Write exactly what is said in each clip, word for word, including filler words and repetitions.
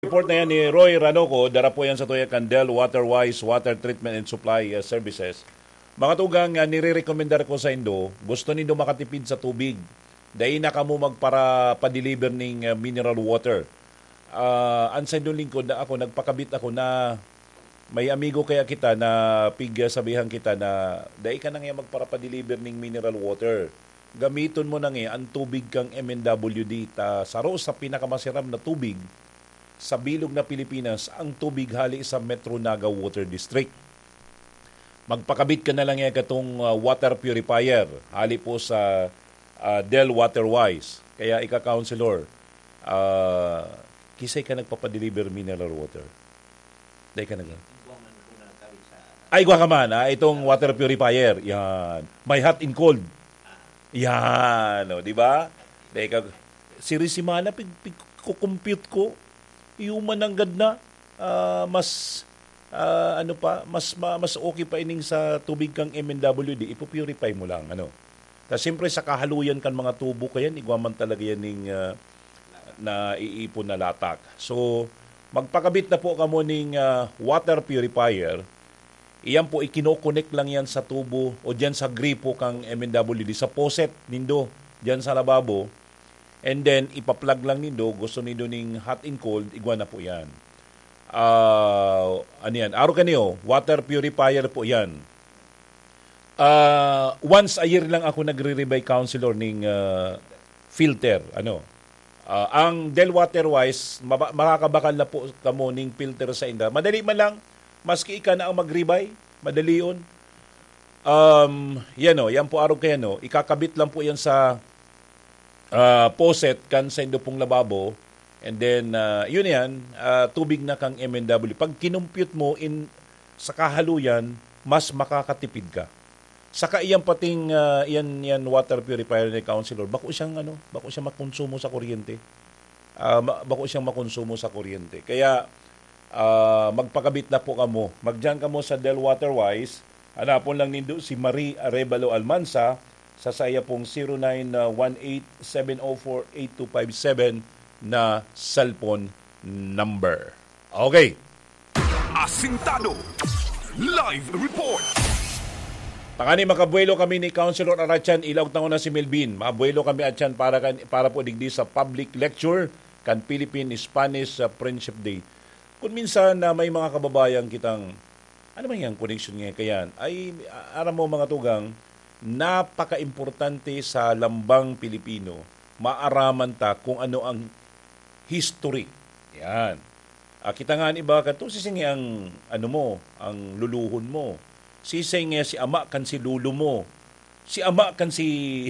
Report na yan ni Roy Ranoco, dara po yan sa tuya kan Del Waterwise Water Treatment and Supply, uh, Services. Mga tugang, uh, nire-recommendar ko sa indo, gusto nindo makatipid sa tubig. Dai na kamo magpara-, pa-deliver ning, uh, mineral water. Ah, an sa indong lingkod na ako, nagpakabit ako na may amigo kaya kita na pig-, sabihan kita na, "Dai ka na nga magpara-pa-deliver ning mineral water. Gamiton mo na nga an tubig kang M N W D, ta saro sa pinakamasiram na tubig sa bilog na Pilipinas, ang tubig hali sa Metro Naga Water District. Magpakabit ka na lang yan katong, ah, water purifier, hali po sa, ah, Del Waterwise." Kaya ika, Councilor, ah, kisay ka nagpapadeliver mineral water? Dai ka nag- Ay, igwa ka man, ah, itong water purifier. Yan. May hot and cold. Yan, o, di ba? Dai ka, siri semana, pig-, pig-, kukumpute ko. Iyo man nanggad na, ah, mas, ah, ano pa, mas ma-, mas okay pa ining sa tubig kang M N W D, ipo-purify mo lang, ano. Tas siyempre sa kahaluyan kan mga tubo kayan, igwa man talaga yan ning, ah, naiipon na latak. So, magpakabit na po kamo ning, ah, water purifier. Iyan po, ikino-connect lang yan sa tubo o diyan sa gripo kang M N W D, sa faucet nindo, diyan sa lababo. And then, ipa-plug lang nindo, gusto nindo ning hot and cold, igwa na po yan. Ah, ano yan? Aro kaniyo, water purifier po yan. Ah, once a year lang ako nagre-rebuy, Councilor, ning, ah, filter. Ano? Ah, ang Del Waterwise, maba-, makakabakal na po kamo ning filter sa inda. Madali man lang, maski ika na ang mag-rebuy, madali yun. Um, yan o, yan po arog kaya, no? Ikakabit lang po yan sa, ah, faucet kan sa indo pong lababo. And then, ah, yun yan, ah, tubig na kang M N W. Pag kinumpute mo in, sa kahaluyan, mas makakatipid ka. Saka iyan pating, ah, iyan, iyan water purifier ni Councilor, bako siyang, ano, bako siyang makonsumo sa kuryente. Ah, ma-, bako siyang makonsumo sa kuryente. Kaya, ah, magpakabit na po kamo. Magdiyan kamo sa Del Waterwise. Hanapon lang nindo si Marie Arevalo Almanza sa saya pong zero nine one eight seven oh four eight two five seven na cellphone number. Okay. Asintado. Live report. Tangani, makabuelo kami ni Councilor Aratian, ilaog tango na si Melvin. Mabuelo kami, Atian, para kan, para po digdi sa public lecture kan Philippine-Spanish, ah, Friendship Day. Kung minsan na may mga kababayan kitang, ano man yang koneksyon nga kayan, ay, a-, aram mo, mga tugang, napaka-importante sa lambang Pilipino, maaraman ta kung ano ang history. Yan. Ah, kita nga an iba kadto, siisay nga ang, ano mo, ang luluhon mo. Siisay nga si ama kan si lolo mo. Si ama kan si,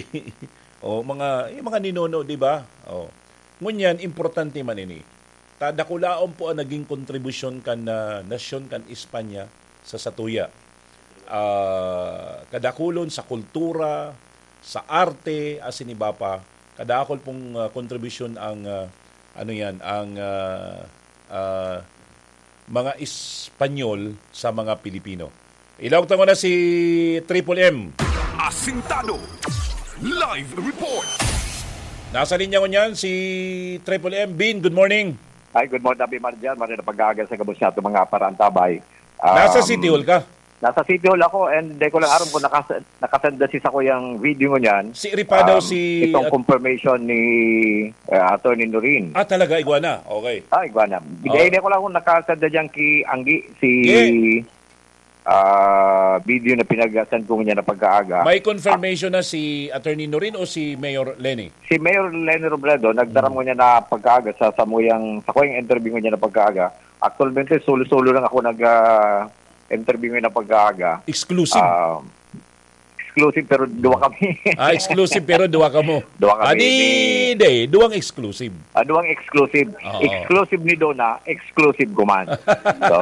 oh, mga, yung mga ninono, di ba? Oh. Ngunyan, importante man ini. Ta dakulaon po ang naging kontribusyon kan, ah, nasyon kan Espanya sa satuya. Ah, kadakulon sa kultura, sa arte, asin iba pa. Kadakul pong, ah, kontribusyon ang, ah, ano yan, ang, ah, ah, mga Espanyol sa mga Pilipino. Ilaog tango na si Triple M. Asintado. Live report. Nasa linya ngunyan si Triple M. Bin, good morning. Ay, good morning, Abi Marjan. Maray na pag-aaga sa gabos niya itong mga parantabay. Nasa Um, City Hall ka? Nasa City Hall ako, and di ko lang aram kung nakas-, nakasenda si sa kuyang video ngunyan. Si Ripadaw, Um, si itong at- confirmation ni, uh, Attorney Norin. Ah, talaga, igwa na. Okay. Ah, igwa na. Di, Oh. di ko lang kung nakasenda dyan ki Anggi, si, Yeah. ah, video na pinag-send ko niya na pagkaaga. May confirmation na si Attorney Norin o si Mayor Leni? Si Mayor Leni Robredo, nagdaram Hmm. ko niya na pagkaaga sa samuyang, sa kuyang interview ko niya na pagkaaga. Actualmente, solo-solo lang ako nag, ah, interview ngayon na pagkaaga. Exclusive. Ah, exclusive, pero duwa kami. Ah, exclusive, pero duwa kamo. Duwa kami Ah, di, ni di, duwang exclusive. Ah, duwang exclusive. Oo. Exclusive ni Dona, exclusive ko man. So,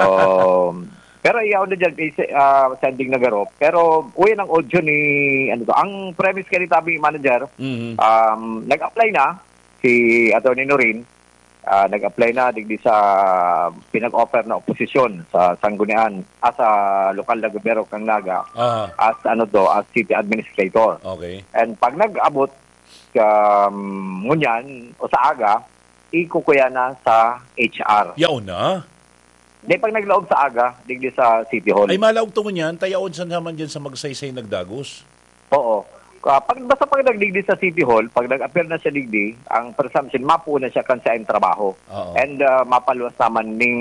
pero iyaw na dyan, kay se-, ah, sending na garo. Pero, uy, ang audio ni, ano to, ang premise kay ni Tabi Manager, Mhm. um, nag-apply na si Attorney Norin, ah, nag-apply na digdi sa pinag-offer na oposisyon sa Sanggunian, ah, sa lokal na gobyerno kang Naga, Aha. as, ano to, as city administrator. Okay. And pag nag-abot, um, ngunyan o sa aga, ikukuya na sa H R. Yaon na? Di, pag naglaog sa aga, digdi sa City Hall. Ay, malaog to ngunyan, tayaon sa naman dyan sa Magsaysay nagdagos. Oo. Ah, pag, basta pag nagdigdi sa City Hall, pag nag-appear na siya digdi, ang presumption, mapuo na siya kan siya ang trabaho. Oo. And, ah, mapaluwas naman ning,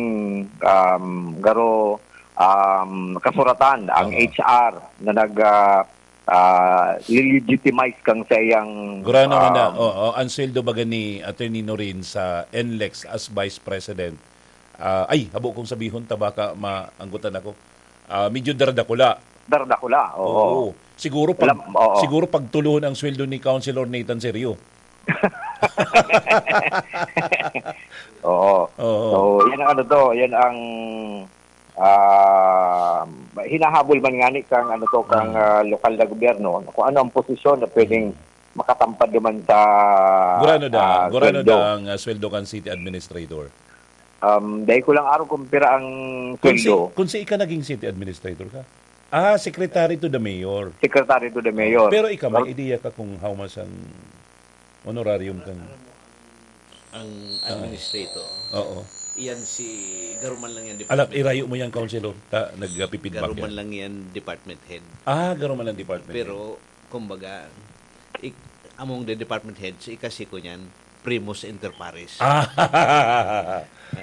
um, garo, um, kasuratan, ang Oo. H R na nag, ah, ah, legitimize kang sa iyang, Gurano man na, um, oo, ang sweldo baga ni Attorney Norin sa N L E X as Vice President. Ah, ay, habo kong sabihon, ta baka maanggotan ako. Ah, medyo daradakula. Daradakula, oo. Oo. Siguro pag, Alam, oo. siguro pagtuluhon ang sweldo ni Councilor Nathan Serio. Oo. Oo. So, yan ang ano to, yan ang, ah, hinahabol man ngani kang ano to, kang, Mm. ah, lokal na gobyerno, kung ano ang posisyon na pwedeng Mm. makatampad naman sa, Gurano da, ah, gurano sweldo. da ang, ah, sweldo kan city administrator? Um, dahil ko lang araw kung pira ang Kung si, sweldo. kung si ika naging city administrator ka? Ah, secretary to the mayor. Secretary to the mayor. Pero ikaw, may Well, idea ka kung how much ang honorarium kang Ang Ah. administrator, Oo. iyan si, garo man lang yan Alap, department irayo head. mo yan, Councilor. Ta, nagpipidback Garo man yan. lang yan department head. Ah, garo man lang department Pero, head. kumbaga, ik-, among the department head, si ikasi ko niyan, primus inter pares. Ah.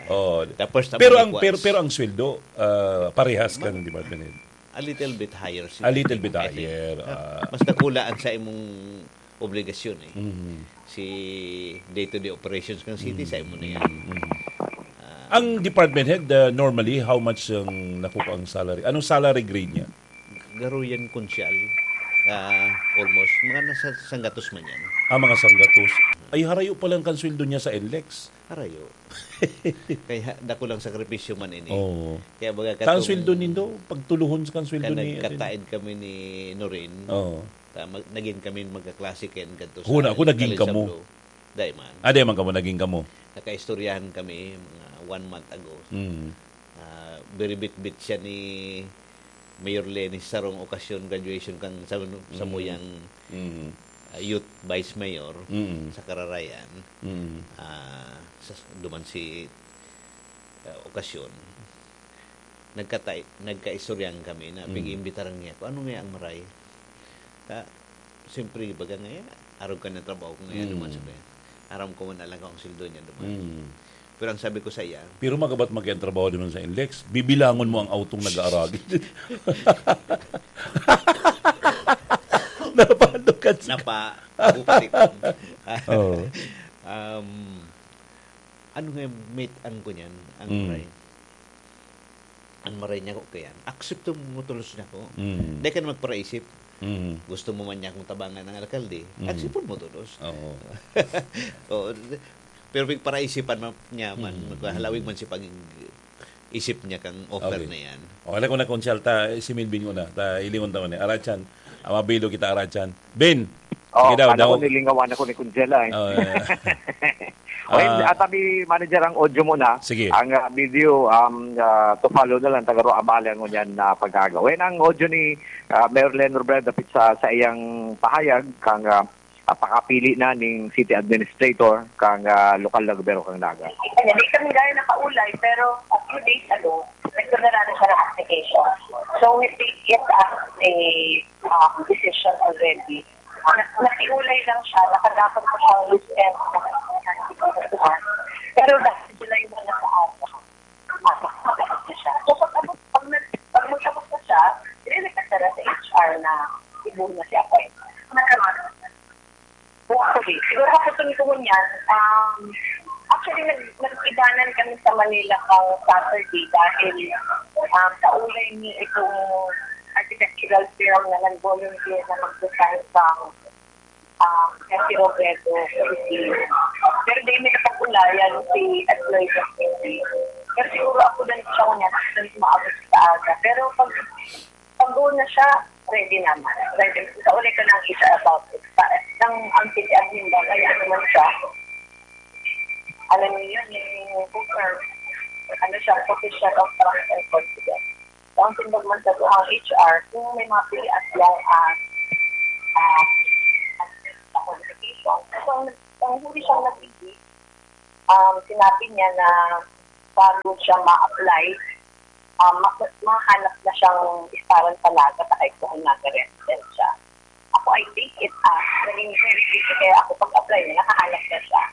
Oh. Tapos, Pero ang, tabalik pero, once. pero ang sweldo, ah, parehas Ma- kan department head? A little bit higher si A little bit I think. higher, Mas, ah. mas dakula ang sa imong obligasyon eh. Mhm. Si day-to-day operations ng city, Mhm. sa imo na yan. Mhm. Ah. Ang department head, ah, normally, how much ang nakukuha ang salary? Anong salary grade niya? Garo yan, konsyal. Ah, almost. Mga nasa sanggatos man yan. Ah, mga sanggatos. Ay, harayo pa lang kan sweldo niya sa N L E X. Harayo. Kaya dako lang sakripisyo man ini. Oo. Kaya baga Kan katong sweldo nindo, pagtuluhon sa kan sweldo kan ni nagkataed kami ni Norin, Oo. ta-, mag-, naging kami magkaklase ken kadto sa Huna, ako naging College of kamo. Law. Dai man. Ah, dai man kamo, naging kamo. Nakaistoryahan kami mga one month ago. Mm. Ah, biribitbit siya ni Mayor Leni sa sarong okasyon, graduation kan sa, sa Mm. muyang, Mm. ah, youth vice mayor Mm. sa Kararayan. Mm. Ah, sa, duman si, ah, okasyon. Nagkatay-, nagkaistoryahan kami na Mm. pig-iimbitaran niya ako, "Ano nga ang maray?" Ta, siyempre, baga nga, arog ka ng trabaho ko ngayon, Mm. duman sa kanya. Aram ko man talaga ang sweldo niya, duman. Mm. Pero ang sabi ko sa iya, Pero magabat magkatrabaho din man sa N L E X, bibilangon mo ang autong nag-aaragid. Napahalokan si Napa, ako pati ko. Oo. Um, ano nga, mate, ang kunyan, ang Mm. maray. Ang maray niya ko kaya, aksepto mo tulos niya ko. Mm. Di ka na magparaisip. Mm. Gusto mo man niya akong tabangan ng alkalde, Mm. aksepto mo tulos. Oo. Oo. Pero pig paraisipan man niya man, Mm. maghahalawig man si pag-isip niya kang offer Okay. na yan. Okay, ako na konsyal ta, si Melvin ko na. Ta, ilingon ta man eh. Arachan, amabilo kita, Arachan. Ben! Oh, Sige daw, ano daw. ko, nilingawan ako ni Kunjela eh. Oh, yeah. Okay, Ah. at abi manager ang audio muna. Sige. Ang, ah, video, um, ah, to follow na lang, tagaro abali ang ngunyan na pag-agaw. When ang audio ni, ah, Mayor Len Robredo dapit sa, sa iyang pahayag, kang, ah, ah, pakapili na ning city administrator, kang, ah, lokal na gobyerno kang Naga. Kanya, di kami gaya nakaulay, pero a few days ago, nagkaroon na siya ng application. So, we take it as a, um, decision already. Na-, nakiulay lang siya, nakadapat pa siyang weekend na Pero dahil sila yung mga sa ata, mapakapit na siya. So, pag, pag, pag, nag-, pag magtapos na siya, i-request na lang sa H R na ibuhin na siya. Actually, siguro ako tingin ko ngunyan, um, actually, nag-, nag-ibanan kami sa Manila pang Saturday dahil, um, kaulay ni itong architectural firm na nag-volunteer na mag-design sa, um, City Robredo, Philippines. Pero di may kapag-ulayan si Atloy City. Pero siguro ako din siya ngunyan, ako din maabot sa aga. Pero pag, pag doon na siya, ready naman. Ready. Sa uli ko lang isa about it. Sa, ang, ang city admin ba, kaya naman siya. Alam niyo yun, yung confirm. Ano siya, position of trust and confidence. So, ang tindog man sa ang H R, kung may mga pili as long as, ah, as, as qualification. So, ang, ang huli siyang nabigay, Um, sinabi niya na bago siya ma-apply, um, ma- mahanap na siyang istaran sa Naga sa kahit kung Naga resident siya. Ako, I take it as naging very easy. Kaya ako, pag-apply niya, nakahanap na siya.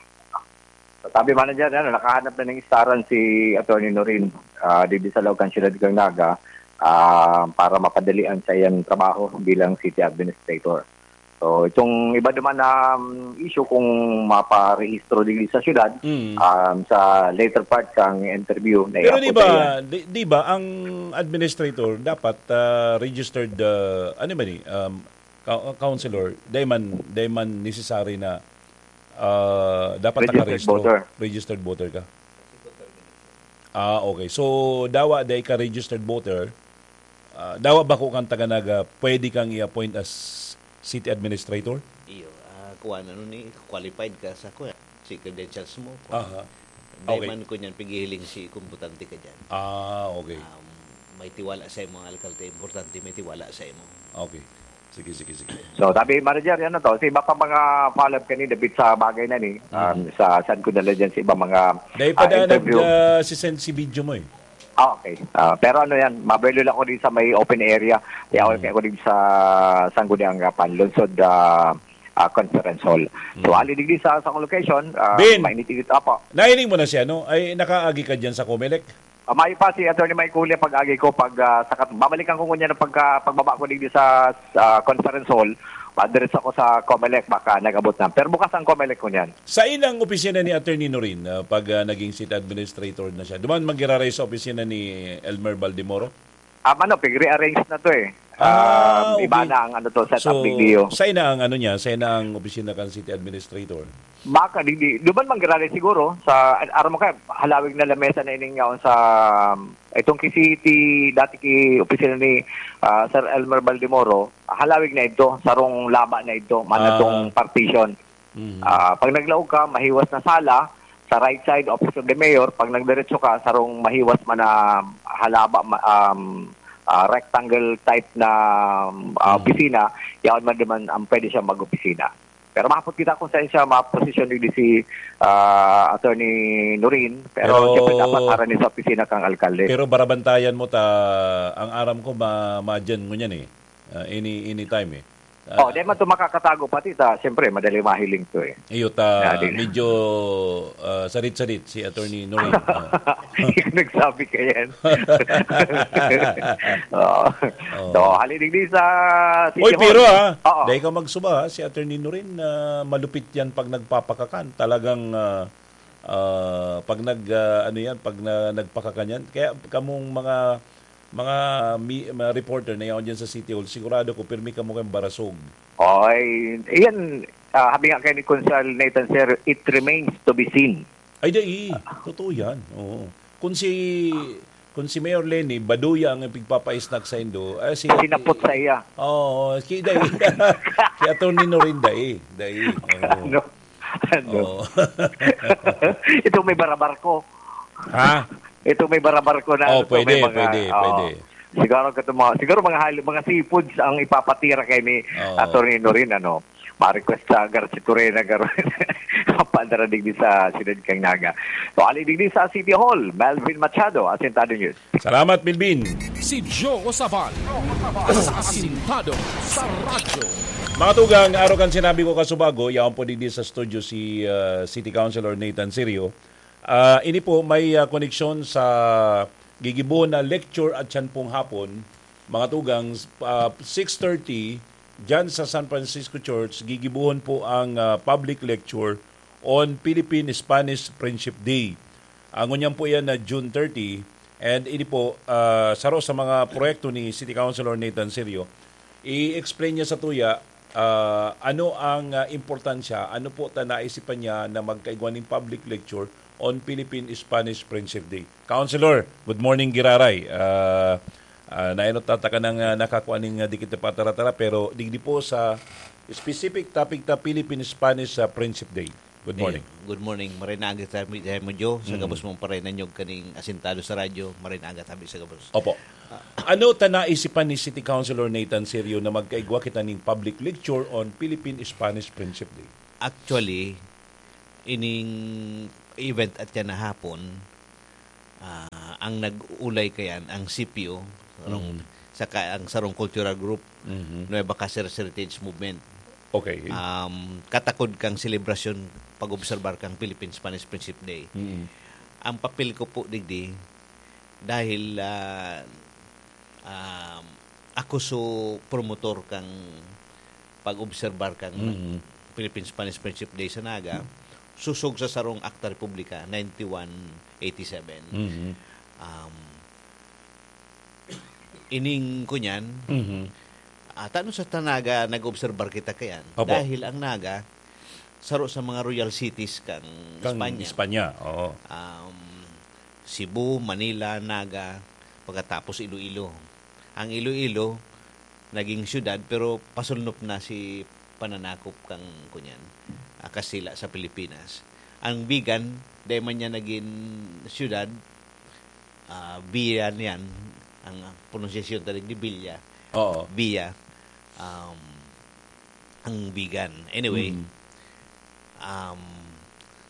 Sabi, manager, ano, nakahanap na ng istaran si Attorney Norin, ah, digdi sa laog kan siyudad kan Naga, ah, para mapadalian sa iyang trabaho bilang city administrator. So, itong iba naman na, um, issue kung maparehistro digdi sa siyudad, Mm. um, sa later part kang interview na Pero di iabot sa iya. ba, di, di ba ang administrator dapat ah, registered, ah, ano ba ni, um, cou- counselor, di man, di man necessary na ah, dapat Registered nakarehistro. Voter. Registered voter ka? Ah, okay. So, dawa di ka registered voter, ah, dawa ba ko kang taga Naga, pwede kang i-appoint as city administrator? Iyo, ah, kuwan, ano ni, qualified ka sa kuwan, si credentials mo. Kuwan. Aha. Dahil Okay. man ko niyan, pigihiling si kumbutante ka dyan. Ah, okay. Um, may tiwala sa imo ang alkalde, importante may tiwala sa imo. Okay. Sige, sige, sige. So, sabi, manager, yan na to. Sa iba pa mga follow-up kanina, bit sa bagay na ni, um, sa saan ko dala dyan sa iba mga Dahil ah, pa daan interview. nag-send si video mo eh. Ah, okay. Ah, pero ano yan, mabelo lang ako din sa may open area. Kaya ako, kaya ako din sa Sangguniang Panlungsod ah, ah, Conference Hall. So, ali digdi sa, sa location, ah, Bin! Mainit-init. Apo. Nahiling mo na siya, no? Ay, nakaagi ka dyan sa Comelec? Ah, may pa si Attorney Mike Julia pag-agi ko pag ah, sakat. Babalikan ko ngunyan ang pagka, pagbaba ko digdi sa ah, conference hall. Padiretso ako sa Comelec, baka nag-abot na. Pero bukas ang Comelec ko niyan. Sa inang opisina ni Attorney Norin, ah, pag ah, naging city administrator na siya, duman magiraray sa opisina ni Elmer Baldemoro? Ah, ano, pig-rearrange na to eh. Ah, Ah, iba okay. na ang ano to, setup So, video. sa ina ang ano niya, sa ina ang opisina kan city administrator? Baka, di, di, duman manggiraray siguro. Sa, aram mo ka, halawig na lamesa na ining yaon sa, um, itong ki city, dati ki opisina ni ah, Sir Elmer Baldemoro, halawig na ito, sarong laba na ito, manatong Ah. partition. Mhm. Ah, pag naglaog ka, mahiwas na sala, sa right side, office of the mayor, pag nagdiretso ka, sarong mahiwas man na halaba, ma- um, ah, rectangle type na um, ah, Mhm. opisina, yaon man naman ang pwede siya mag-opisina. Pero mahapot kita kung saan siya ma-position ni D C ah, Attorney Norin. Pero, Pero- siyempre dapat harani sa opisina kang alkalde. Pero barabantayan mo ta, ang aram ko, ma, madyan mo niyan eh. Ah, any, anytime eh. Ah, Oh, di man to makakatago pati ta. Siyempre, madali mahiling to eh. Iyo ta, Dali. medyo ah, sarit-sarit si Attorney Norin. Ah. Hindi ko nagsabi ka yan. Oo. Oo. So, halidigdi sa City Oy, Hall. pero ah, Oo. dahil ka magsuba ha, si Attorney Norin, ah, malupit yan pag nagpapakakan. Talagang, ah, ah, pag nag, ah, ano yan, pag na, nagpakakan yan. Kaya kamong mga, mga, mi, mga reporter na yaon dyan sa City Hall, sigurado ko, pirmi kamo kayong barasog. Oy, iyan, ah, habi nga kay ni Konsehal Nathan, sir, it remains to be seen. Ay, dai. Totoo yan. Oo. Kung si, kung si Mayor Leni, baduya ang ipigpapa-snack sa indo, eh, si, Sinapot sa iya. Oo, si dai. Si Attorney Norin, dai. Dai. Oo. Ano? Ano? Oo. Ito may barabarko. Ha? Ito may barabarko na Oh, ano to, pwede, may mga, pwede, oo. pwede. Siguro kato mga, siguro mga hal- mga seafoods ang ipapatira kay ni Oo. Attorney Norin, ano. Ma-request sa Garcitorena, garo. Padara digdi sa Siyudad kang Naga. So, ali digdi sa City Hall, Melvin Machado, Asintado News. Salamat, Melvin. Si Joe Sabal sa Asintado sa Radyo. Mga tugang, araw kan sinabi ko kasubago, yaon po digdi sa studio si ah, City Councilor Nathan Sirio. Ah, ini po may ah, koneksyon sa gigibuhon na lecture at siyan pong hapon, mga tugang, ah, six thirty, dyan sa San Francisco Church, gigibuhon po ang ah, public lecture on Philippine-Spanish Friendship Day. Ang ngunyan po yan na June thirty, and ini po, ah, saro sa mga proyekto ni City Councilor Nathan Sirio, i-explain niya sa tuya ah, ano ang ah, importansya, ano po ta naisipan niya na magkaigwa ning public lecture on Philippine-Spanish Friendship Day. Councilor, good morning, giraray. Ah, ah, nainot tataka nang ah, nakakuha ning ah, dikit na patara-tara, pero digdi po sa specific topic ta Philippine-Spanish ah, Friendship Day. Good morning. Ayun. Good morning. Maray na aga tabi, tabi mo, Joe. Sa Mm. gabos mong paray na nyog kaning Asintado sa Radyo, maray na aga tabi sa gabos. Opo. Ano ta naisipan ni City Councilor Nathan Sirio na magkaigwa kita ning public lecture on Philippine-Spanish Friendship Day? Actually, ining event at yan na hapon, ah, ang nag-uulay kayan, ang C P O, sarong, Mm. saka ang sarong cultural group, Mhm. Nueva Cáceres Heritage Movement. Okay. Um, katakod kang selebrasyon, pag-obserbar kang Philippine Spanish Friendship Day. Mm. Ang papel ko po digdi, dahil, ah, um, ako so promotor kang pag-obserbar kang Mm. Philippine Spanish Friendship Day sa Naga, susog sa sarong Akta Republika ninety-one eighty-seven. Mhm. Um, ining kunyan, Mhm. ah, tano sa Tanaga nag-obserbar kita kayan. Opo. Dahil ang Naga, saro sa mga royal cities kang Kang Espanya. Espanya, oo. Um, Cebu, Manila, Naga, pagkatapos Iloilo. Ang Iloilo, naging siyudad, pero pasulnop na si pananakop kang, kunyan, ah, Kastila sa Pilipinas. Ang Vigan, dahil man niya naging siyudad, ah, Villa niyan, ang pronunciation talaga ni Villa. Oo. Villa, um, ang Vigan. Anyway, Mm. um,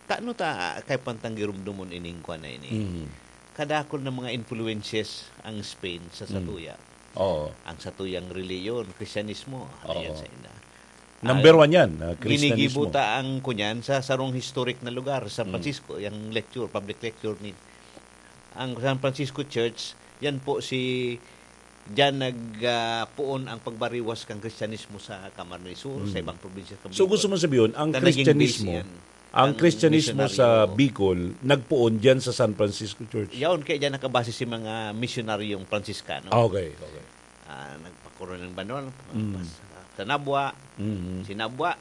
tano ta, kay pantang girumdomon ining kwan na ini. Mm. Kadakol na mga influences ang Spain sa Mm. satuya. Oo. Ang satuyang reliyon, Kristyanismo, ano Oo. yan sa ina. Number Ah, one yan, ah, Kristyanismo. Ginigibo ta ang kunyan sa sarong historic na lugar, San Mm. Francisco, yung lecture, public lecture ni, ang San Francisco Church, yan po si, diyan nag, ah, puon ang pagbariwas kang Kristyanismo sa Camarines Sur, sa Mm. ibang probinsya kang So, Bicol. Gusto mo sabihin, ang Na naging Kristyanismo, base yan ang ng Kristyanismo sa misyonaryo. Bicol, nagpuon diyan sa San Francisco Church? Yaon, kaya diyan nakabase si mga misyonaryong Pransiskano. Ah, okay, okay. Ah, nagpakuro ng banwal, Mm. pas-, sa Nabua, Mm. si Nabua,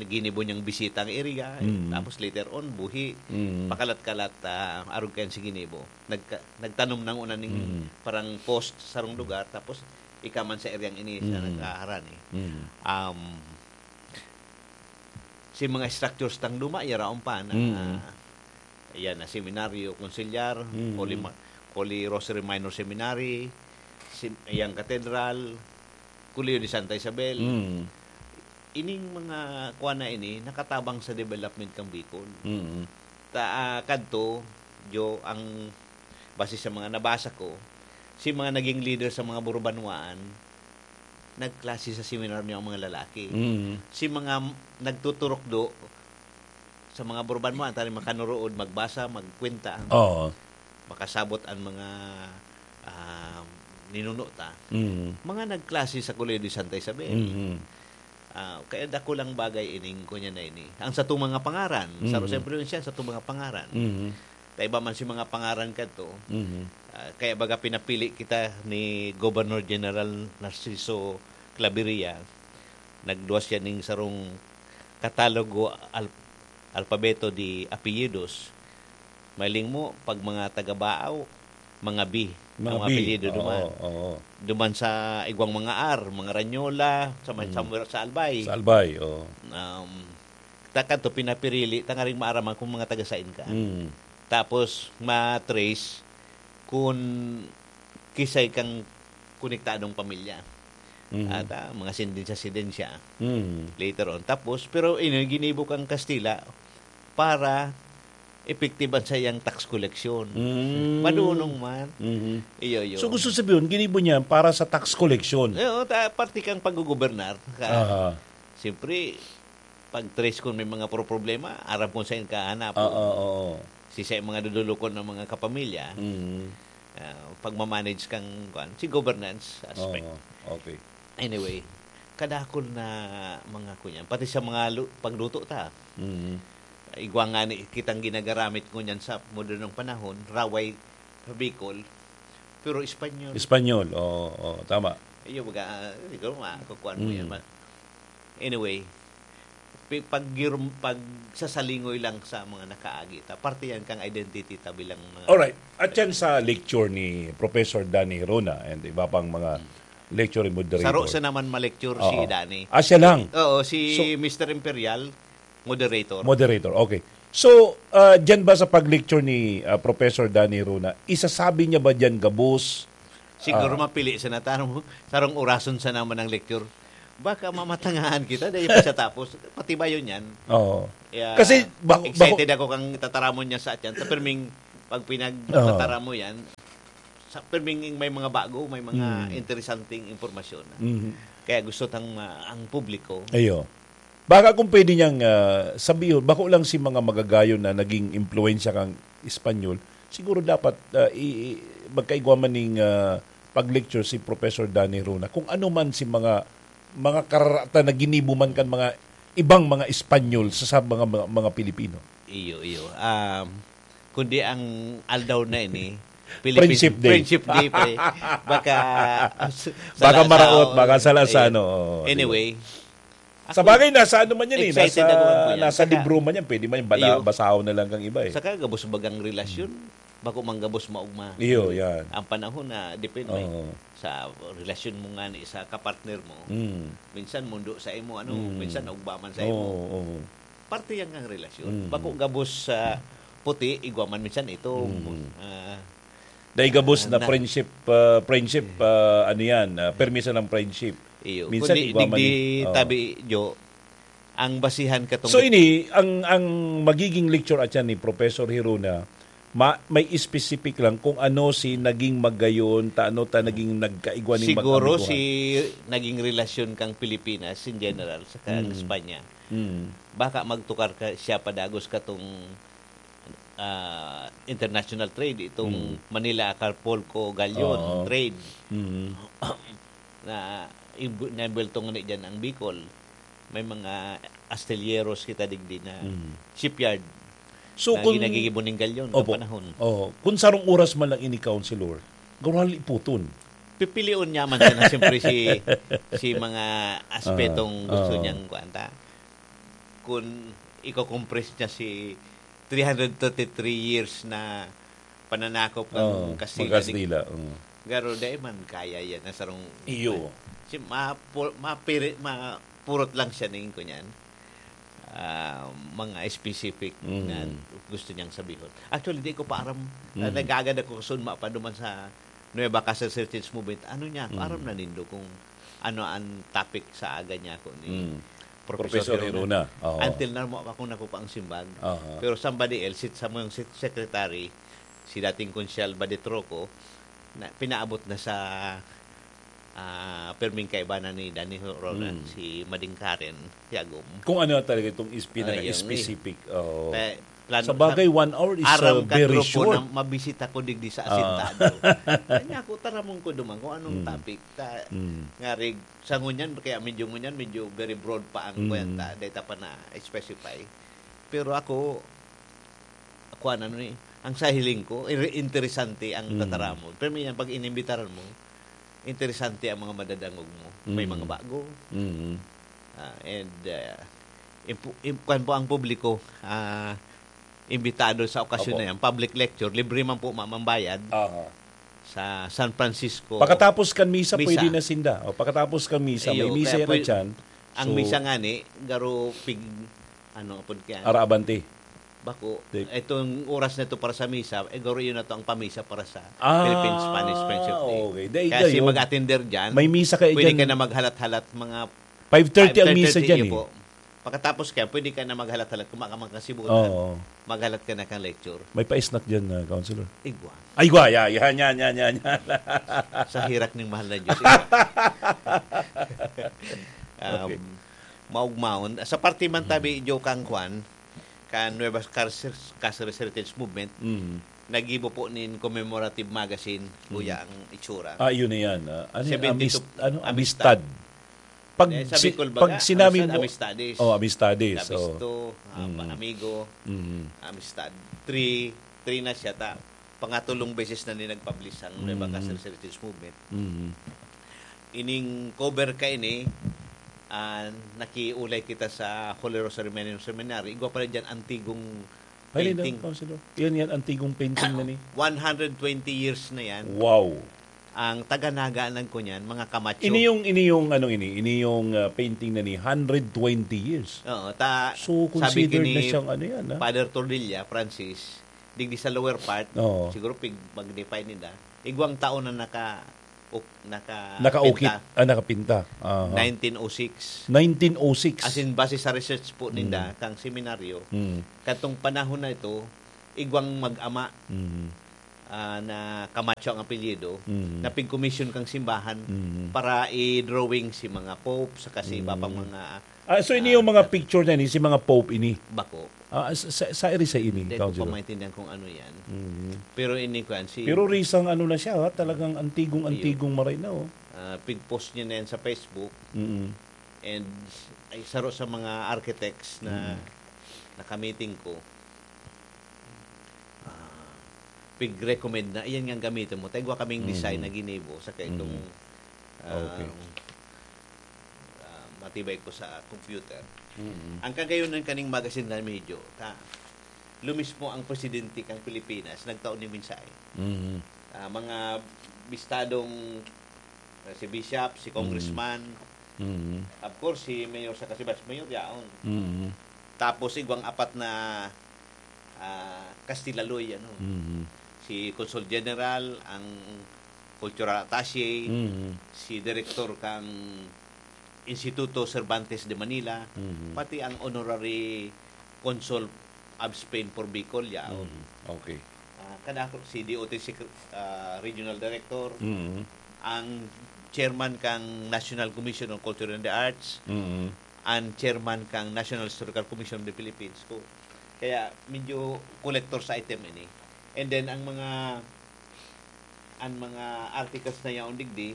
ginibo niyang bisita ang area, eh, Mm. tapos later on, buhi, Mm. pakalat-kalat, ah, arog kayan si ginibo. Nagka-, nagtanom ng una ning Mm. parang post sa sarong lugar, tapos ika man sa eryang ini sa Mm. nagkaharani. Mm. Um, si mga structures tang luma, yaraon pa na, Mm. yan na seminaryo, konsilyar, Mm. Holy Ma-, Holy Rosary Minor Seminary, si, yang katedral, Colegio de Santa Isabel. Mm. Ining mga kuwan na ini, nakatabang sa development kang Bicol. Mm. Ta, ah, kadto, Jo, ang base sa mga nabasa ko, si mga naging leader sa mga Burbanwaan, nagklase sa seminar niya ang mga lalaki. Mm. Si mga m-, nagtuturukdo sa mga Burbanwaan, tani makanurood, magbasa, magkwenta, Oo. makasabot ang mga, ah, ninuno ta. Mm. Mga nagklase sa Colegio de Santa Isabel. Mm. Ah, kaya dakulang bagay ining kunya na ini. Ang satong mga pangaran, sa Mm. Rosario Provincia, satong mga pangaran. Mm. Ta iba man si mga pangaran kadto. Mhm. Ah, kaya baga pinapili kita ni Governor General Narciso Claveria. Nagduwas siya ning sarong katalogo al-, alpabeto de apelyidos. Mailing mo, pag mga taga-Baaw, mga B, Mga ang mga B. Apelyido Oo, duman. Oo. Duman sa igwang mga R, mga Ranyola, sa may Mm. somewhere sa Albay. Sa Albay, oo. Um, ta kadto pinapirili, tangaring maaraman kung mga taga-sain ka. Mm. Tapos, ma-trace kung kisay kang konektadong pamilya. Mm. At, ah, mga sindensya-sindensya. Mm. Later on. Tapos, pero ini, ginibo kang Kastila para epektiban sa iyang tax collection. Mm. Madunong man. Mhm. Iyo, iyo. So, gusto sabihin, ginibo niya para sa tax collection? Oo, ta-, parte kang paggugobernar. Ka-, Aha. siyempre, pag trace kung may mga pro-, problema, aram kung saan ka hanap. Oo, oo. Si sa mga dudulukon ng mga kapamilya, Mm. ah, pagmamanage kang, kuwan, si governance aspect. Oo, okay. Anyway, kadakol na mga kunyan. Pati sa mga lu-, pagluto ta. Mm. Igwa nga ni, kitang ginagaramit ngunyan sa modernong panahon, raway sa Bicol, pero Espanyol. Espanyol, oo, oo, tama. Iyo, baga, ah, siguro makukuhaan mo Mm. yan, ma-, anyway, pi-, pag girum-, pagsasalingoy lang sa mga nakaagi ta, parte yan kang identity ta bilang mga Alright. At yan sa lecture ni Professor Danny Rona and iba pang mga Mm. lecture and moderator. Saro siya naman ma-lecture si Oo. Danny. Ah, siya lang? Oo, si So Mister Imperial, moderator. Moderator, okay. So, ah, dyan ba sa pag-lecture ni, ah, Professor Danny Rona, isasabi niya ba dyan gabos? Siguro Ah. mapili siya na tarong, tarong orason siya naman ng lecture. Baka mamatangahan kita, dahil pa siya tapos, pati ba yun yan? Oo. Kaya, Kasi bako- excited ako kang tataramon niya sa atyan. Sa pirming, pag pinagtataramo yan, sa pirming may mga bago, may mga Mm. interesanting impormasyon. Mhm. Kaya gusto tang ma- ang publiko. Ayo. Baka kung pwede niyang ah, sabihin, bako lang si mga magagayon na naging impluensya kang Espanyol, siguro dapat ah, i- i- magkaigwa man ning ah, pag-lecture si Professor Danny Runa kung ano man si mga mga kararatan na ginibo man kan mga ibang mga Espanyol sa, sa mga, mga mga Pilipino. Iyo, iyo. Um, kundi ang aldaw na ini, Philippine Friendship Day. Friendship Day, pre. Baka Baka maraot, salasaon. baka salasaon, Ayun. oo, Anyway, Sa bagay, nasa ano man yan eh. Excited Nasa, ako man po yan. nasa Saka- libro man yan. Pwede man yung bala, Iyo. Basahon na lang kang iba eh. Saka gabos bagang relasyon, bako man gabos maugma. Iyo, yan. Ang panahon na depende Oo. sa relasyon mo nga ni sa kapartner mo. Mm. Minsan mundo sa imo, ano, Mm. minsan naugma man sa Oo, imo. oo. Parte yan ng relasyon. Mm. Bako gabos sa puti, igwa man minsan ito. Mm. Ah, Dahil gabos Ah, na na- friendship, ah, friendship, ah, ano yan, ah, permiso ng friendship. iyo. Minsan Kundi igwa man digdi eh. Oo. tabi, Jo, ang basihan katong So ini, ang ang magiging lecture at yan ni Professor Hirona, ma, may specific lang kung ano si naging magayon, ta ano ta naging nagkaigwa ning Siguro magkabiguhan. Si naging relasyon kang Pilipinas in general sa kang Mm. Espanya. Mm. Baka magtukar ka siya padagos katong ah, international trade, itong Mm. Manila, Acapulco, Galion Oo. trade Mm. na ibu- nabuwelto nga dyan ang Bicol. May mga astilleros kita digdi na Mm. shipyard So na kung ginagigibo ning Galion Opo. Panahon. Oh, kung sarong oras man lang ini, Councilor, gurali puton. Pipilion niya man sana siyempre si si mga aspetong Ah, gusto ah. Niyang kuanta. Kung iko-compress niya si three hundred thirty-three years na pananakop ng Oo, Kastila. Magkastila. Oo. Garo dai man kaya yan na sarong Iyo. Si mapu, mapiri, mapurot lang siya ning kunyan. Ah, mga specific Mm. na gusto niyang sabihon. Actually, di ko pa aram. Mm. Nagagad ako kasunma pa duman sa Nueva Castle Heritage Movement. Ano niya? Mm. Aram na nindo kung ano ang topic sa aga niya ako ni Mm. Professor, Professor Hirona. Oo. Until now, mo pa akong nakupa ang simbag. Aha. Pero somebody else, si Samuel se- secretary, si dating Konsyal Badetroco, na pinaabot na sa ah, perming kaibanan ni Danny Roland, Mm. si Mading Karen Tiagom. Kung ano talaga itong is, pinaka Ayun, specific. Oo. Kaya, plano, Sa bagay, one hour is aram uh, ka, very grupo short. Na mabisita ko digdi sa Ah. Asintado. Kanya ako, taramon ko duman kung anong Mm. topic. Ta, Mm. nga rig, sa ngunyan, kaya medyo ngunyan, medyo very broad pa ang Mm. kwenta. Dahil pa na-specify. Pero ako, ako ano ni, ang sa hiling ko, iri- interesante ang Mm. tataramon. Pero minsan, pag inimbitaran mo, interesante ang mga madadangog mo. May Mm. mga bago. Mm. Ah, and, uh, impu- im- kwan po ang publiko, ah, imbitado sa okasyon Opo. Na yan. Public lecture, libre man po mamambayad Aha. sa San Francisco. Pagkatapos kan misa, Misa. Pwede na sinda. O, pagkatapos kan misa, may Iyo, misa kaya yan pwede- dyan. Ang So, misa nga ni, garo pig, ano, apod kaya? Araabante. Bako, Di- itong oras na ito para sa misa, eh, garo yun na to ang pamisa para sa Ah, Philippine Spanish Friendship Day. okay. Dahil Kaya si kayo, mag-attender dyan, may misa kayo pwede dyan. Ka na maghalat-halat mga Five thirty ang five thirty misa dyan iyo eh. Po. Pagkatapos kaya, pwede ka na maghalat-halat, kumakama ka sibutan. Oo. Maghalat ka na kang lecture. May pa-snack dyan, uh, Councilor. Igwa. Ay, gwa, ya, yan, yan, yan, yan, yan. Sa hirak ng mahal na Diyos. Igwa. Um, Okay. Maugmaon. Sa parte man tabi, Joe, kang kwan, kan Nueva Cáceres, Cáceres Heritage Movement, Mm. nagibo po nin commemorative magazine, kuya, ang itsura. Ah, yun na yan. Ah, ano, yan? Seventy-two Amist, ano? Amistad. Amistad. Pag, Eh, sabi si- ko, pag baga, sinabi ano, mo, Amistades. Oh, Amistades. Kabisto, Oh. ah, Mm. Amigo, Mm. Amistad. Three, three na siya ta. Pangatulong beses na ni nag-publish ang Nueva Mm. Cáceres Heritage Movement. Mm. Ining cover ka ini, ah, nakiulay kita sa Holy Rosary Seminary. Igwa pala dyan, antigong Ay, painting. Councilor. Yan, yan, antigong painting na ni. One hundred twenty years na yan. Wow. Ang taga-Naga lang ko niyan, mga Camacho. Ini yung, ini yung, ano ini, ini yung ah, painting na ni, hundred twenty years. Oo, ta, So, sabi considered ni na siyang ano yan, ah. Father Tordilla, Francis, digdi sa lower part, Oo. siguro pig magnify nila, igwang taon na naka, uk-, naka-, Nakaukit, pinta. Ah, nakapinta. Aha. Nineteen oh six. Nineteen oh six. As in, base sa research po ninda, Mm. kang seminaryo, Mm. kadtong panahon na ito, igwang mag-ama, Mm. ah, na Camacho ang apelyido, Mm. na pigkomisyon kang simbahan Mm. para i-drawing si mga pope, saka si iba pang Mm. mga, Ah, so ini ah, yung mga picture na ini, si mga pope ini? Bako. Ah, sa, sa, sa iri sa ini, Hindi ko Councilor? pa maintindihan kung ano yan. Mm. Pero ini, kuwan, si Pero risang ano na siya, ha? Talagang antigong-antigong maray na, oh. Ah, pig-post niya na yan sa Facebook. Mm. And ay, saro sa mga architects na Mm. nakamiting ko, ah, pig-recommend na, "Iyan nga gamitin mo." Tayo kaming design Mm. na ginibo, saka itong, Mm. Ah, Okay. ah, matibay ko sa computer. Mm. Ang kagayonan kaning magazine na medyo, ta, lumismo ang presidente kang Pilipinas, nagtao ni mensahe. Mm. Ah, mga bistadong, ah, si Bishop, si Mm. Congressman, Mm. of course, si Mayor saka si Vice Mayor, yaon. Mm. Tapos, igwang apat na, ah, Kastilaloy, ano. Mm. Si Consul General, ang Cultural Attaché, Mm. si Direktor kang Instituto Cervantes de Manila, Mm. pati ang Honorary Consul of Spain for Bicol, yaon. Mm. Okay. Ah, kadako, si D O T Secre-, ah, Regional Director, Mm. ang chairman kang National Commission on Culture and the Arts, Mm. ang chairman kang National Historical Commission of the Philippines. Ko, kaya medyo collector's item ini. And then, ang mga, ang mga articles na yaon digdi,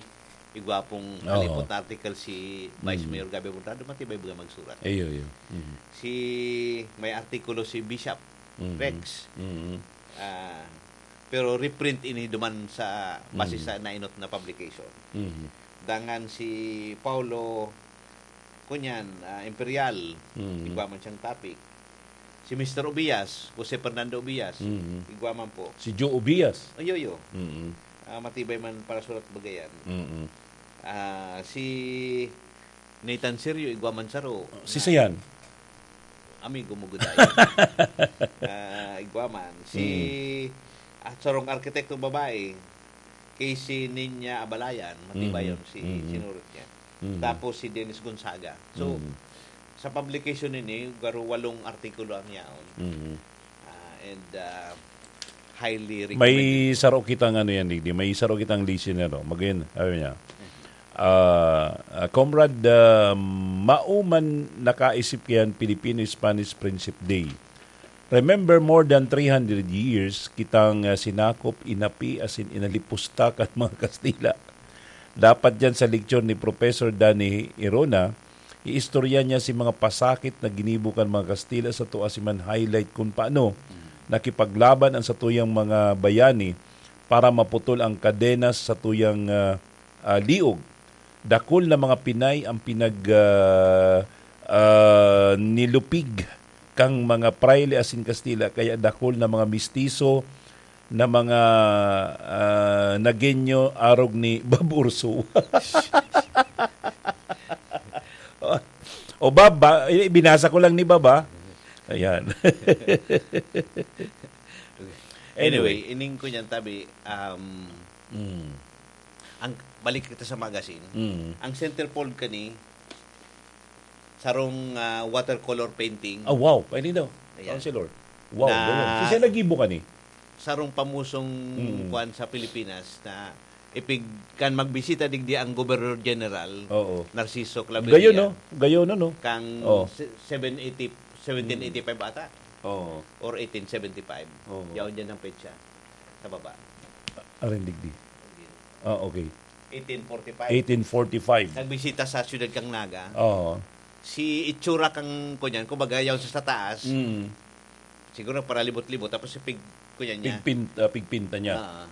igwa pong Oo. halipot na article si Vice Mm. Mayor Gabby Abonrado, matibay baga magsurat. Iyo, iyo. Mm. Si, may artikulo si Bishop Mm. Rex. Mm. Ah, pero reprint ini duman sa, base Mm. sa nainot na publication. Mm. Dangan si Paulo, kunyan, ah, Imperial, Mm. igwa man siyang topic. Si Mister Obias, Jose Fernando Obias, Mm. igwa man po. Si Joe Obias. Ay, yo, yo. Mm. Ah, matibay man para surat bagayan. Mm. Ah, si Nathan Serio, igwa man saro. Si Na Sayan. Amigo mo, good. Ah, igwa man. Si, Mm. ah, sarong arkitekto babae, kay si Ninya Abalayan, matibay Mm. yun, si, Mm. sinurot niya. Mm. Tapos si Dennis Gonzaga. So, Mm. sa publication nini, garo walong artikulo ang yaon. Mm. Ah, and, ah, highly May recommended. saro kitang ano yan, digdi. May saro kitang listener, oh. Magayon, sabi niya, ah, ah, "Comrade, ah, mao man nakaisip kayan Filipino-Spanish Friendship Day. Remember, more than three hundred years kitang, ah, sinakop, inapi, asin inalipusta kan mga Kastila. Dapat diyan sa lecture ni Professor Danny Irona, iistorya niya si mga pasakit na ginibo kan mga Kastila sa tua si man highlight kun paano nakipaglaban ang satuyang mga bayani para maputol ang kadenas sa satuyang, ah, ah, liog. Dakul na mga Pinay ang pinag, ah, ah, nilupig kang mga prayle asin Kastila, kaya dakul na mga mistiso na mga, ah, Nagueño arog ni Bab Urso." O, Bab, ba, eh, binasa ko lang ni Bab, ah. Ayan. Anyway, Anyway. ining ko niyan, tabi, um, Mm. ang, balik kita sa magazine. Mm. Ang centerfold kani, sarong, ah, watercolor painting. Ah, wow. Pwede daw. Ayan. Councilor. Wow, Na ganun. Si Sen Nagibo ka ni? Sarong pamusong Mm. kuwan sa Pilipinas na ipig-, kan magbisita digdi ang Gobernador General, Oo. Narciso Claveria. Gayon, no? Gayon, no? Kang Oh. se-, seven eighty, seventeen eighty-five ata. Oo. Or eighteen seventy-five. Oo. Yaon dyan ang petsa. Sa baba. Arin digdi. Ah, okay. Eighteen forty-five. Eighteen forty-five. Nagbisita sa siyudad kang Naga. Oo. Si itsura kang, kunyan, kumbaga, yaon sa, sa taas. Mm. Siguro paralibot-libot, tapos si pig-, kunyan niya. Pigpin-, ah, pigpinta niya. Ah.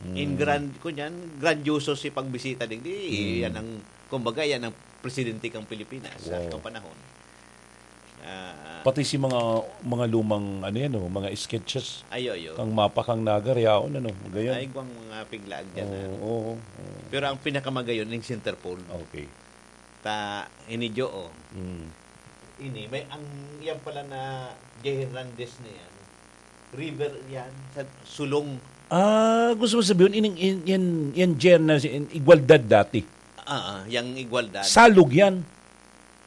Mm. In grand-, kunyan, grandioso si pagbisita digdi. Mm. Yan ang, kumbaga, yan ang presidente kang Pilipinas sa Wow. atong panahon. Ah, Pati si mga, mga lumang, ano yan, oh, mga sketches. Ayo, ayo. Kang mapa, kang Naga, yaon, ano, gayon. Ay, igwang mga piglaag dyan, Oo, ah. oo, oo. Pero ang pinakamagayon, yung centerfold. Okay. Ta, ini, jo, oh. Mm. Ini, may, ang, yan pala na Jay Hernandez na yan. River yan, sa Sulong. Ah, gusto mo sabihin, ining, in, yan, yan dyan na si, in, igualdad dati. Ah, ah, yang igualdad. Salog yan.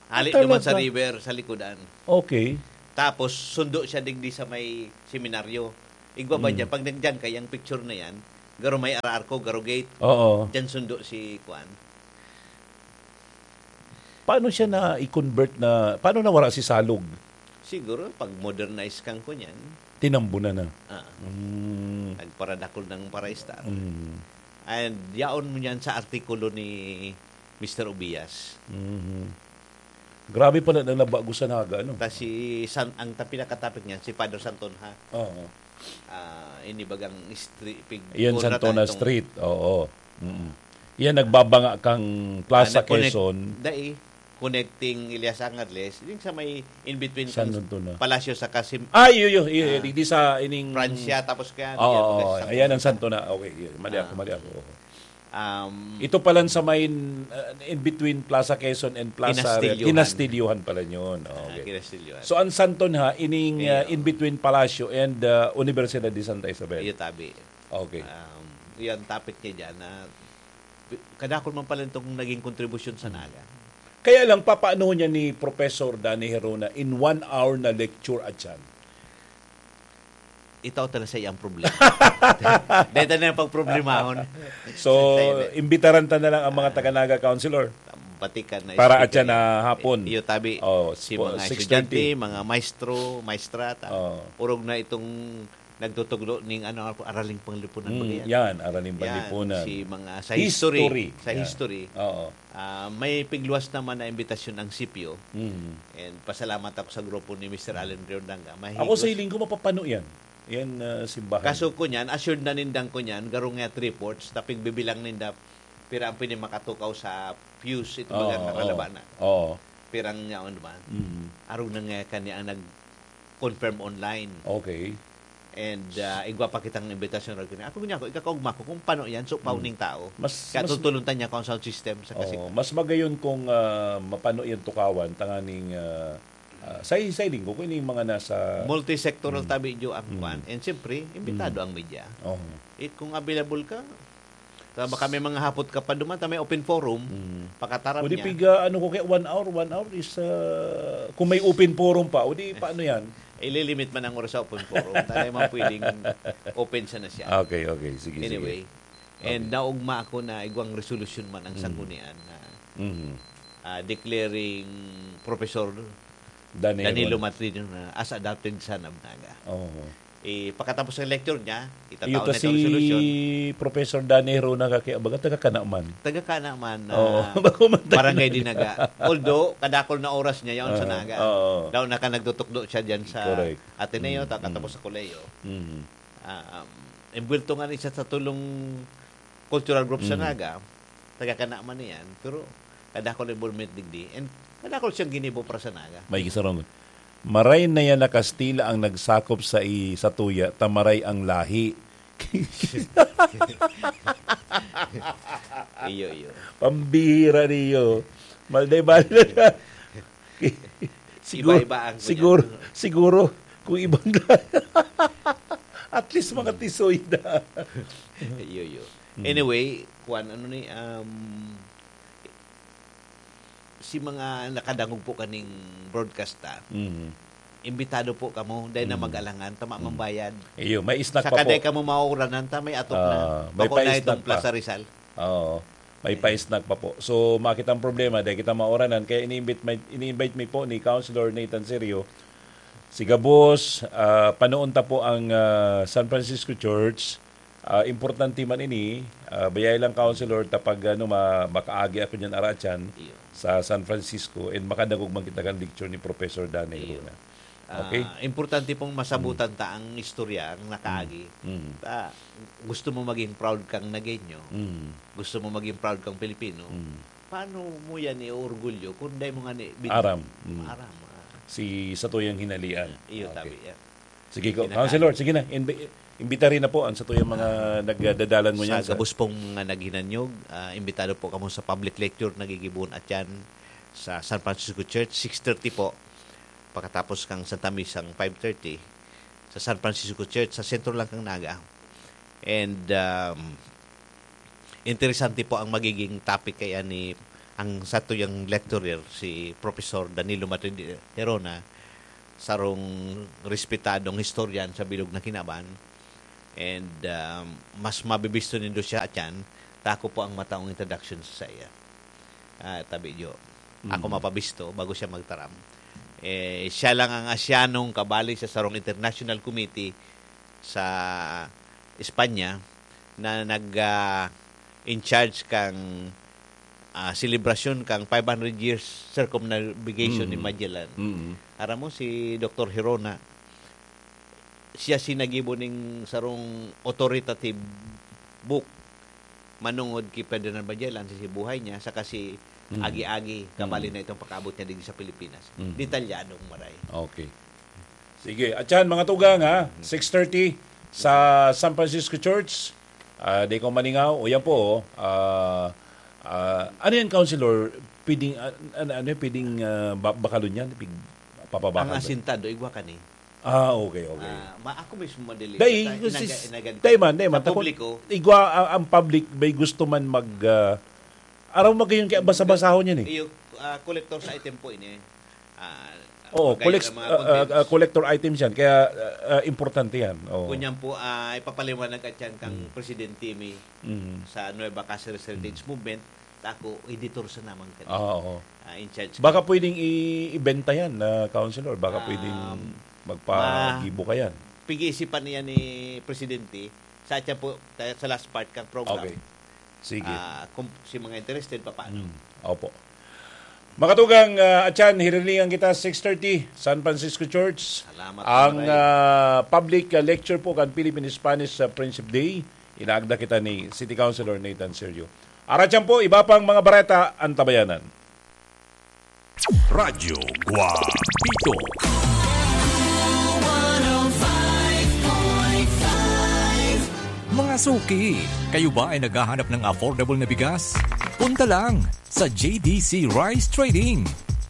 Hali Ah, naman sa talaga? river, sa likodan. Okay. Tapos, sundo siya digdi sa may seminaryo. Igwa ba Mm. dyan? Pag nagdyan ka, yung picture na yan, garo may ararko, garo gate. Oo. Dyan sundo si Kwan. Paano siya na i-convert na, paano nawara si Salog? Siguro, pag modernize kang kunyan. Tinambunan na. Ah. Mm. Nagparadakol ng paraistar. Mm. And yaon mo niyan sa artikulo ni Mister Obias. Mhm. Grabe pala na nabago sa Naga, no? Ta si San, ang ta-, pinakatopic niyan, si Father Santonja. Oo. Ah, ini bagang street, pig-, Iyan, una Santona ta itong Street. Oo. Mm. Iyan, nagbabanga kang Plaza Ah, nag-connect, Quezon. dai, connecting Elias Angadles, yung sa may in between San kang Antonio. Palasyo sa Kasim-, Ay, iyo, iyo, iyo, Ah. di, di sa ining Francia, tapos kaya Oo, bigyan ko oo, kasi sa ayan ang Santo na. Okay, iyo, mali ako, Ah. mali ako. Oo. Um, Ito pala sa may, uh, in between Plaza Quezon and Plaza Kinastilyohan. Kinastilyohan pala yun. Ah, Okay. Kinastilyohan. So, ang Santon ha, ining, uh, Iyo. in between Palasyo and, uh, Universidad de Santa Isabel. Iyo, tabi. Okay. Um, yan, topic niya dyan na pi-, kadakol man pala itong naging kontribusyon sa Hmm. Naga. Kaya lang, papaano niya ni Professor Danny Herona in one hour na lecture at yan? Ito talaga sa iyang problema. Dahil na yung pagproblemahon. So, Sa iyang imbitaran ta na lang ang mga taga-Naga, Councilor. Batikan na Para at speaker yan na yan. hapon. Iyo, tabi. Oh, Si spo-, mga six thirty. estudyante, mga maestro, maestra, ta-, Oh. urog na itong nagtutuglo ning ano, araling panglipunan ba Mm, yan? yan, araling Yan, panlipunan. si mga sa History. history, sa Yeah. history. Oo. Ah, may pigluwas naman na imbitasyon ang sipyo. Mm. And pasalamat ako sa grupo ni Mister Allen Riordangan. Mahigos. Ako sa hiling ko, mapapano yan. Yan, ah, simbahan. Kaso ko niyan, assured na nindang ko niyan, garong nga three-fourths, tapig bibilang ninda, pira ang pwede makatukaw sa pews, ito baga Oo, nga kalaba oo. na. Oo. Pirang yaon, di ba? Mm. Arog na nga kanya ang nag-confirm online. Okay. And, ah, igwa pa kitang imbitasyon, Rod Kini. Ako niya ako, ikakaugma ko kung paano yan, so, Mm. pauning tao. Mas, Kaya mas tutuluntan niya kung sound system sa Oo, kasi mas magayon kung, ah, mapano yan tukawan, tanganing, ah, ah, sa, sa linggo, kung ini yung mga nasa Multisectoral Mm. tabi, Jo, ang Mm. kwan. And siyempre, imbitado Mm. ang media. Oo. Eh, kung available ka, ta baka may mga hapot ka pa duman, ta may open forum, Mm. pakatarap O di niya. piga, ano ko kaya, one hour, one hour is, ah, kung may open forum pa, o di paano yan? Ililimit man ang oras sa open forum, ta dai man pwedeng open siya na siya. Okay, okay. Sige, sige. Anyway, and Okay. naugma ako na igwang resolusyon man ang Mm. sanggunian na, Mm. ah, declaring Professor Danny Danilo Herona. Matrino na as adopted son of Naga. Oo. Eh, pagkatapos ng lecture niya, itatao Iyo to na itong si resolusyon. Professor Danny Herona kaki-, baga taga Canaman. Taga Canaman na Oo. Bago man taga Barangay Naga. Dinaga. Although, kadakol na oras niya yaon sa Ah, Naga. oo. Daw na ka nagtutukdo siya dyan sa Correct. Ateneo, Mm, ta-, katapos mm. sa kolehiyo. Mm. Ah, um, envuelto nga rin siya sa tulong cultural group sa Mm. Naga. Taga Canaman niyan. Pero, kadakol involvement digdi. And kadakol siyang ginibo para sa Naga. May isa ron. Maray na yan na Kastila ang nagsakop sa i-, sa tuya, ta maray ang lahi. Iyo, iyo. Pambihira niyo. Malday-bali na siya. Siguro, Iba-iba ang siguro, ganyan. siguro, kung ibang at least mga tisoy na. Iyo, iyo. Mm. Anyway, kuwan, ano ni, um, si mga nakadangog po kaning broadcast ta, Mm. imbitado po kamo, dai na Mm. mag-alangan, tama Mm. mang bayad. Iyo, may snack Sa pa kaday po. kamo mauranan ta, may atok na. Ah, may Bako na pa-snack itong pa. Plaza Rizal. Oo. May Eh. pa-snack pa po. So, makita ang problema, dai kita mauranan. Kaya ini-invite, may, ini-invite mi po ni Councilor Nathan Serio. Siga boss, ah, panoon ta po ang, ah, San Francisco Church. Ah, importante man ini, ah, bayay lang, Councilor, ta pag, ano, ma-, makaagi ako dyan, aratyan, Iyo. sa San Francisco, and makadangog man kita kan lecture ni Professor Danny Iyo. Luna. Ah, Okay? importante pong masabutan Mm. ta ang istorya, ang nakaagi. Mm. Mm. Ta, gusto mo maging proud kang Nagueño, Mm. gusto mo maging proud kang Pilipino, Mm. paano mo yan iorgulyo kung dai mo nga ni-, bit-, Aram. Mm. aram, ah. Si satuyang hinalian. Iyo, Okay. tabi, yeah. Sige ko. Kinakain. Councilor, sige na. Imbi-, imbitari na po ang satuyang mga nagdadalan mo Sa niyan sa gabos pong mga naghinanyog, ah, imbitado po kamo sa public lecture na gigibohon atyan sa San Francisco Church, six thirty po. Pagkatapos kang Santa Misa, ang five thirty, sa San Francisco Church, sa sentro lang kang Naga. And, um, interesante po ang magiging topic kaya ni ang satuyang lecturer, si Professor Danilo Madrid Herona, sarong respetadong historian sa bilog na kinaban. And, um, mas mabibisto nindo siya atyan, ta ako po ang mataong introduction sa iya. Ah, tabi, Jo. Ako Mm. mapabisto bago siya magtaram. Eh, siya lang ang Asyanong kabali sa sarong international committee sa Espanya na nag, ah, in charge kang, ah, selebrasyon kang five hundred years circumnavigation ni Mm. Magellan. Mm. Aram mo, si Doktor Hirona, siya si naggibo ning sarong authoritative book manungod ki Ferdinand Magellan, si, si buhay niya, saka si Mm. Agi-Agi, kabali Mm. na itong pag-abot niya digdi sa Pilipinas. Mm. Detalyadong maray. Okay. Sige. At yan, mga tugang, ha? Six thirty sa San Francisco Church. Ah, di ko maningaw. O, yan po, oh. Ah, ah, ano yan, Councilor? Pwedeng, ah, ano, ano yan? Pwedeng, ah, ba-, bakalon yan? Pig-, papabakal Ang ba? Asintado, igwa ka ni. Ah, okay, okay. Ah, ma-, ako mismo madili. Dai, Sa inaga-, si-, inaga-, dai man, dai man. sa Tako-, publiko. igwa, ang, ang public, may gusto man mag, ah, araw magayon, kaya basa-basahon yan eh. Iyo, ah, collector's item po ini. Ah, Oo, bagay collect-, sa mga ah, ah, contents. ah, collector items yan. Kaya, ah, ah, importante yan. Oo. Kunyan po, ah, ipapaliwanag at yan kang Mm. Presidente Timmy Mm. sa Nueva Cáceres Heritage Mm. Movement. Tako, editor sa naman ka Ah, oo. ah, in charge Baka ka. pwedeng i-, ibenta yan, ah, Councilor. Baka pwedeng Um, magpagibo ma-, ka yan. pag-iisipan niya ni Presidente, sa atyan po, tayo sa last part kang program. Okay. Sige. Ah, kung si mga interested, papaano? Mm. Opo. Mga tugang, ah, atyan, hiriringan kita, six thirty, San Francisco Church. Salamat, Ang, Maray. ah, public, ah, lecture po kan Philippine Spanish, ah, Friendship Day. Inaagda kita ni City Councilor Nathan Sergio. Aratyan po, iba pang mga bareta, antabayanan. Radyo Guapito. Mga suki, kayo ba ay naghahanap ng affordable na bigas? Punta lang sa J D C Rice Trading.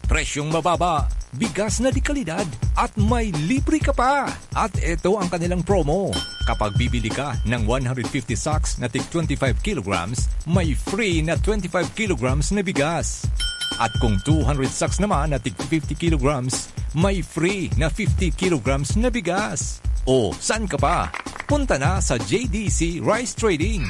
Presyong mababa, bigas na de kalidad, at may libre ka pa! At eto ang kanilang promo. Kapag bibili ka ng one hundred fifty sacks na tig twenty-five kilograms, may free na twenty-five kilograms na bigas. At kung two hundred sacks naman na tig fifty kilograms, may free na fifty kilograms na bigas. O, saan ka pa? Punta na sa J D C Rice Trading.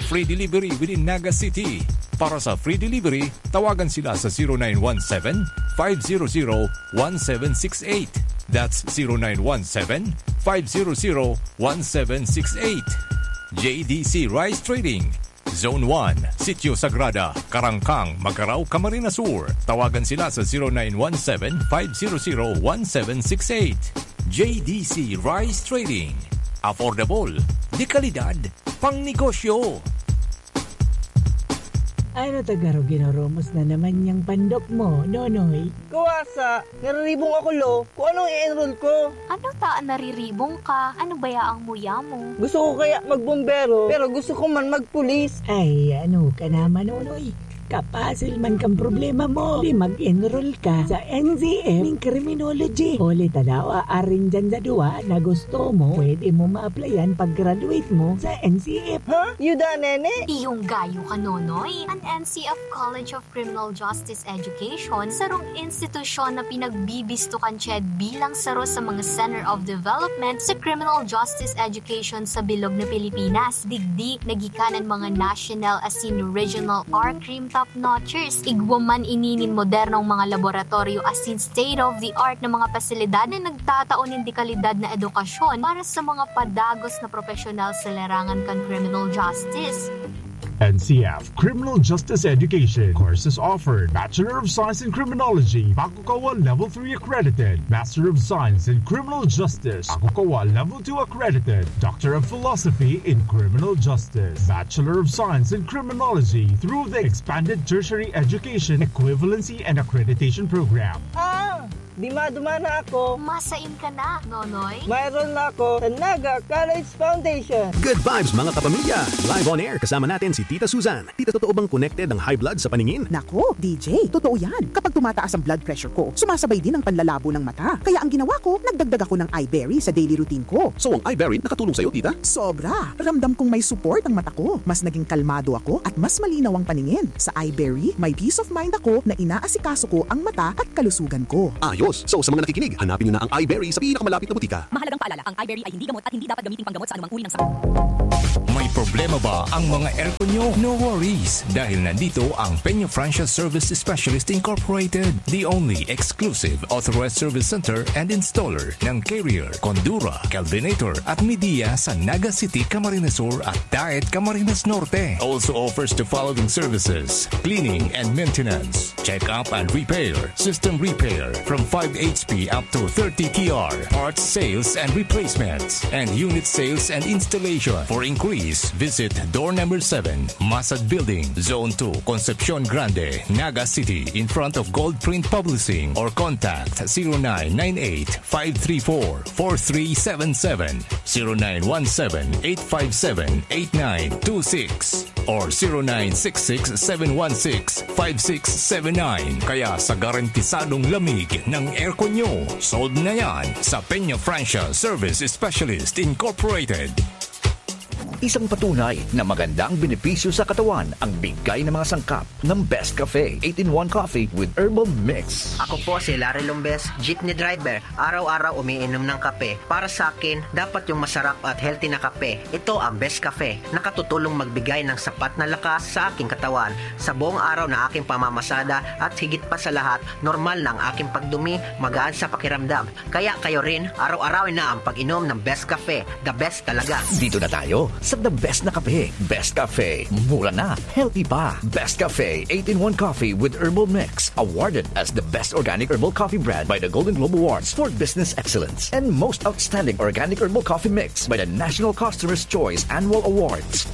Free delivery within Naga City. Para sa free delivery, tawagan sila sa zero nine one seven, five zero zero, one seven six eight. That's zero nine one seven, five zero zero, one seven six eight. J D C Rice Trading, Zone one, Sitio Sagrada, Karangkang, Magarao, Camarines Sur. Tawagan sila sa zero nine one seven, five zero zero, one seven six eight. J D C Rice Trading. Affordable, de kalidad, pang negosyo. Ano ta garo ginoromos na naman yang pandok mo, Nonoy? Kuwasa, nariribong ako, lo. Kung anong i-enroll ko. Ano ta an nariribong ka? Ano baya ang muya mo? Gusto ko kaya magbombero, pero gusto ko man magpulis. Ay, ano ka naman, Nonoy? Kapasil man kang problema mo. Di mag-enroll ka sa N C F ning criminology. Huli ta daw, aarin dyan sa duwa na gusto mo, pwede mo ma-applyan pag-graduate mo sa N C F. Ha? Yuda, nene? Iyong gayo ka, Nonoy. An N C F College of Criminal Justice Education, sarong institusyon na pinagbibisto kan CHED bilang saro sa mga Center of Development sa Criminal Justice Education sa bilog na Pilipinas. Digdi, nagikan an mga national asin regional R-Crime top-notchers. Igwa man ini nin modernong mga laboratoryo asin state-of-the-art na mga pasilidad na nagtatao nin dekalidad na edukasyon para sa mga padagos na propesyonal sa larangan kan criminal justice. N C F Criminal Justice Education courses offered: Bachelor of Science in Criminology, Pakukawa Level three accredited; Master of Science in Criminal Justice, Pakukawa Level two accredited; Doctor of Philosophy in Criminal Justice, Bachelor of Science in Criminology through the Expanded Tertiary Education Equivalency and Accreditation Program. Ah! Dima-duma na ako. Masain ka na, Nonoy. Mayroon na ako sa Naga College Foundation. Good vibes, mga kapamilya! Live on air, kasama natin si Tita Susan. Tita, totoo bang connected ang high blood sa paningin? Nako, D J, totoo yan. Kapag tumataas ang blood pressure ko, sumasabay din ang panlalabo ng mata. Kaya ang ginawa ko, nagdagdag ako ng Iberry sa daily routine ko. So, ang Iberry nakatulong sa'yo, tita? Sobra! Ramdam kong may support ang mata ko. Mas naging kalmado ako at mas malinaw ang paningin. Sa Iberry, may peace of mind ako na inaasikaso ko ang mata at kalusugan ko. Ayos! So, sa mga nakikinig, hanapin nyo na ang Iberry sa pinakamalapit na butika. Mahalagang paalala, ang Iberry ay hindi gamot at hindi dapat gamiting panggamot sa anumang uri ng sakit. May problema ba ang mga aircon nyo? No worries, dahil nandito ang Peña Francia Service Specialist Incorporated, the only exclusive authorized service center and installer ng Carrier, Condura, Kelvinator at Midia sa Naga City, Camarines Sur at Daet, Camarines Norte. Also offers the following services: cleaning and maintenance, check-up and repair, system repair from five H P up to thirty T R, parts sales and replacements, and unit sales and installation. For inquiries, visit door number seven, Masad Building, Zone two, Concepcion Grande, Naga City, in front of Gold Print Publishing, or contact zero nine nine eight five three four four three seven seven, zero nine one seven eight five seven eight nine two six or zero nine six six seven one six five six seven nine. Kaya sa garantisadong lamig ng aircon nyo, sold na yan sa Peña Francia Service Specialist Incorporated. Isang patunay na maganda ang benepisyo sa katawan ang bigay ng mga sangkap ng Best Cafe eight-in-one Coffee with Herbal Mix. Ako po si Larry Lombes, jeepney driver. Araw-araw umiinom ng kape. Para sa akin, dapat yung masarap at healthy na kape. Ito ang Best Cafe. Nakatutulong magbigay ng sapat na lakas sa aking katawan. Sa buong araw na aking pamamasada at higit pa sa lahat, normal na ang aking pagdumi, magaan sa pakiramdam. Kaya kayo rin, araw-arawin na ang pag-inom ng Best Cafe. The best talaga. Dito na tayo sa the best na kape. Best Cafe. Mura na, healthy pa. Best Cafe eight-in-one Coffee with Herbal Mix. Awarded as the best organic herbal coffee brand by the Golden Globe Awards for Business Excellence. And most outstanding organic herbal coffee mix by the National Customer's Choice Annual Awards.